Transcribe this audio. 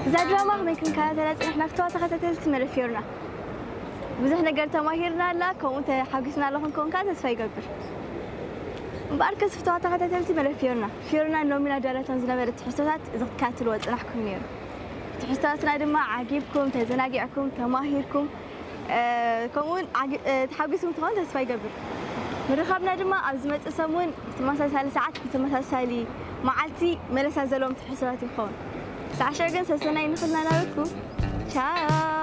እዛ ድራማ ከመይ ክንከታተላ ጽንሕና ፍትዋ ተኸታተልቲ መደብ ፊዮርና። ብዙሕ ነገር ተማሂርና ኣላ፣ ከምኡ ተሓጒስና ኣለኹም ከውን ከዓ ተስፋ ይገብር። እምበኣር ከስ ፍትዋ ተኸታተልቲ መደብ ፊዮርና፣ ፊዮርና ሎሚ ናዳላቶም ዝነበረ ትሕዝቶታት እዚ ክትከታተልዎ ጽናሕኩም ነይሩ። ትሕዝቶታትና ድማ ዓጊብኩም፣ ተዘናጊዕኩም፣ ተማሂርኩም፣ ከምኡውን ተሓጒስኩም ትኸውን ተስፋ ይገብር። ምርኻብና ድማ ኣብ ዝመፅእ ሰሙን ብተመሳሳሊ ሰዓት ብተመሳሳሊ መዓልቲ መለሳ ዘለዎም ትሕዝቶታት ይኸውን። ሳዕሸ ግን ሰሰናይ ንኽልና ናበኩም። ቻው።